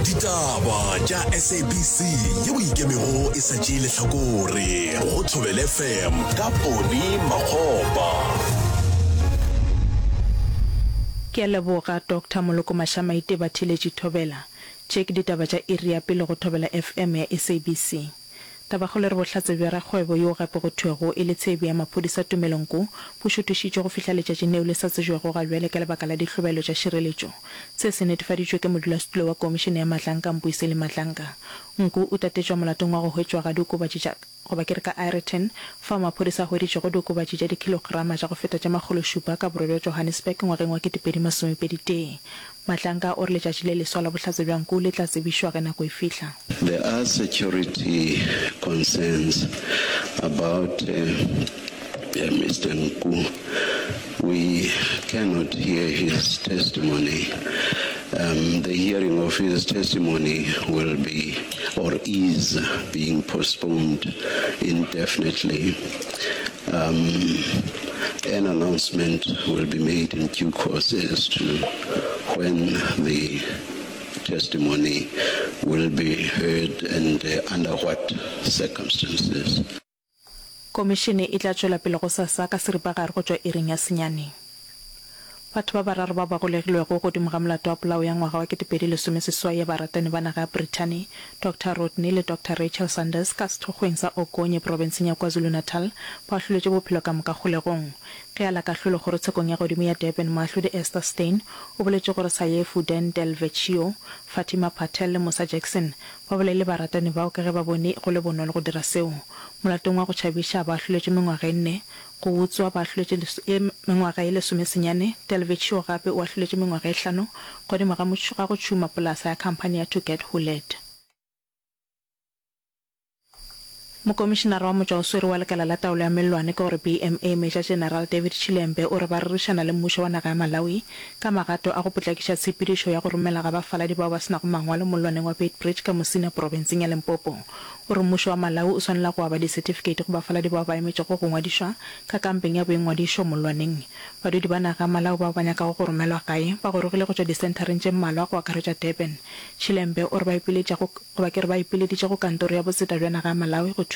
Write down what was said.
Ditaba tša SABC yeo e ikemego e sa tšee lehlakore go Thobela FM ka Poni Makgopa. Ke a leboga Doctor Moloko Mashamaite Batheeletši Thobela. Tše ke ditaba tša iri ya pele go Thobela FM ya SABC. Tabakgolo e re bohlatse bja rakgwebo yo gape go thwego e le tshebi ya maphodisa Tumelo Nku bo šuthišitšwe go fihla letšatšing leo le sa tsebjego ga bjale ka lebaka la dihlobaelo tša šireletšo. Se se netefaditšwe ke modulasetulo wa Komišene ya Madlanka Mbuyiseli Madlanka. Nku o tatetšwa molatong wa go hwetšwa ga diokobatši tša goba ke re ka Aeroton fao maphodisa a hweditšego diokobatši tša dikhilograma tša go feta tše makgološupa ka borwa bja Johannesburg ngwageng wa 2021. Madlanka o re letšatši le leswa la bohlatse bja Nku le tla tsebišwa ge nako e fihla. There are security concerns about Mister Nku. We cannot hear his testimony. Um, the hearing of his testimony will be or is being postponed indefinitely. Um, an announcement will be made in due course as to when the testimony will be heard and under what circumstances. Komišene e tla tšwela pele gosasa ka seripagare go tšwa iring ya senyane. Batho ba bararo bao ba golegilwego godimo ga molato wa polao ya ngwaga wa 2018 ya baratani ba naga ya Brithani, Doctor Rodney le Doctor Rachel Sanders ka sethokgweng sa Okonye profenseng ya KwaZulu-Natal ba ahloletšwe bophelo ka moka kgolegong. Ge a la kahlolo kgorotshekong ya godimo ya Durban, moahlodi Esther Steyn o boletše gore Sayefu Dan Del Vecchio, Fatima Patel le Musa Jackson ba bolaile baratani bao ka ge ba bone go le bonolo go dira seo. Molatong wa go tšhabiša ba ahloletšwe mengwaga e nne, go utswa ba ahloletšwe mengwaga ye lesomesenyane, Del Vecchio gape o ahloletšwe mengwaga e hlano godimo ga ga go tšhuma polasa ya khamphani ya To Get Who Led. Mokomišenara wa motšwaoswere wa lekala la taolo ya mellwane ke gore BMA Major General David Chilembe o re ba rerišana le mmušo wa naga ya Malawi ka magato a go potlakiša tshepedišo ya go romela ga bafaladi bao ba se nago mangwalo mollwaneng wa Beitbridge ka Musina profenseng ya Limpopo. O re mmušo wa Malawi o swanela go aba disetifikeiti go bafaladi bao ba emetšego go ngwadišwa ka kampeng ya boingwadišo mollwaneng. Badudi ba naga ya Malawi bao ba nyakago go romelwa gae ba gorogile go tšwa disenthareng tše mmalwa go akaretša Durban. Chilembe o re ba ipiletša go goba ke re ba ipileditše go kantoro ya botseta bja naga ya Malawi go thuša.